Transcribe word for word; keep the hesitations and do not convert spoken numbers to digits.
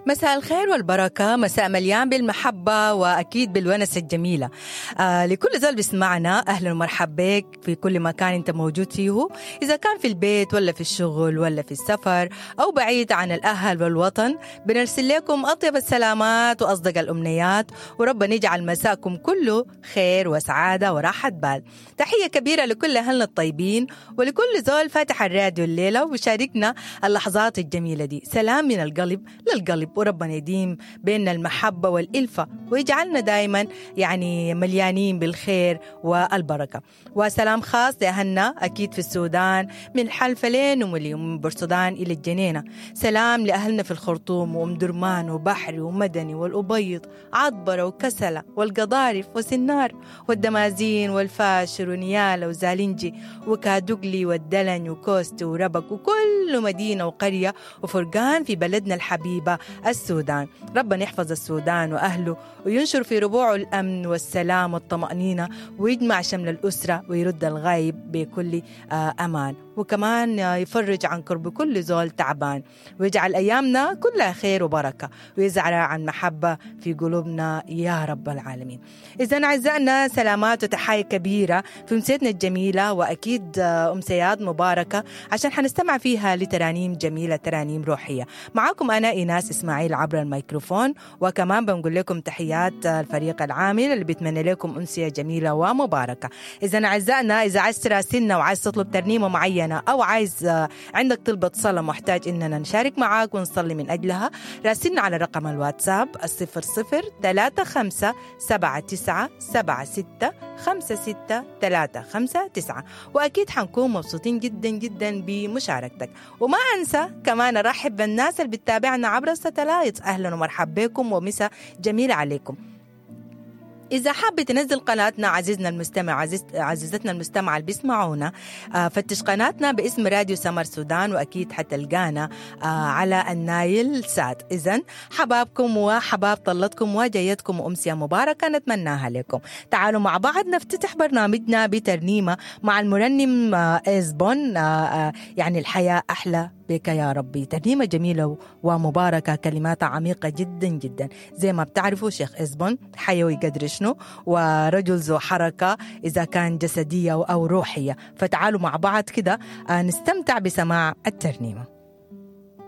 مساء الخير والبركة، مساء مليان بالمحبة وأكيد بالونس الجميلة. آه لكل زول بيسمعنا، أهلا ومرحبا بك في كل مكان أنت موجود فيه، إذا كان في البيت ولا في الشغل ولا في السفر أو بعيد عن الأهل والوطن. بنرسل لكم أطيب السلامات وأصدق الأمنيات، وربنا يجعل مساءكم كله خير وسعادة وراحة بال. تحية كبيرة لكل أهلنا الطيبين ولكل زول فاتح الراديو الليلة وشاركنا اللحظات الجميلة دي. سلام من القلب للقلب، وربنا يديم بيننا المحبة والإلفة ويجعلنا دايما يعني مليانين بالخير والبركة. وسلام خاص لأهلنا أكيد في السودان من حلفلين ومن بورسودان إلى الجنينة. سلام لأهلنا في الخرطوم وأم درمان وبحري ومدني والأبيض، عطبرة وكسلة والقضارف وسنار والدمازين والفاشر ونيالة وزالنجي وكادوغلي والدلن وكوست وربك وكل مدينة وقرية وفرقان في بلدنا الحبيبة السودان. ربنا يحفظ السودان وأهله وينشر في ربوعه الأمن والسلام والطمأنينة، ويجمع شمل الأسرة ويرد الغايب بكل أمان، وكمان يفرج عن كرب كل زول تعبان، ويجعل أيامنا كلها خير وبركة، ويزرع عن محبة في قلوبنا يا رب العالمين. إذا أعزائنا، سلامات وتحايا كبيرة في أمسيتنا الجميلة، وأكيد أمسيات مباركة عشان حنستمع فيها لترانيم جميلة، ترانيم روحية. معاكم أنا إيناس إسماعيل عبر الميكروفون، وكمان بنقول لكم تحيات الفريق العامل اللي بيتمنى لكم أمسية جميلة ومباركة. إذا أعزائنا، إذا عايز تراسلنا وعايز تطلب ترنيمة معينة أو عايز عندك طلبة صلاة محتاج إننا نشارك معاك ونصلي من أجلها، راسلنا على رقم الواتساب الصفر صفر ثلاثة خمسة سبعة تسعة سبعة ستة خمسة ستة ثلاثة خمسة تسعة، وأكيد حنكون مبسوطين جدا جدا بمشاركتك. وما أنسى كمان أرحب بالناس اللي بتتابعنا عبر الستلايت، أهلا ومرحبا بكم ومساء جميل عليكم. إذا حابة تنزل قناتنا عزيزنا المستمع، عزيز عزيزتنا المستمعة اللي بيسمعونا، فتش قناتنا باسم راديو سمر سودان، وأكيد حتلقانا على النايل سات. إذن حبابكم وحباب طلتكم وجايتكم وأمسية مباركة نتمناها لكم. تعالوا مع بعض نفتتح برنامجنا بترنيمة مع المرنم إزبون، يعني الحياة أحلى بك يا ربي. ترنيمة جميلة ومباركة، كلماتها عميقة جدا جدا. زي ما بتعرفوا شيخ إزبون حيوي قدر شنو، ورجل ذو حركة إذا كان جسدية أو روحية. فتعالوا مع بعض كده نستمتع بسماع الترنيمة.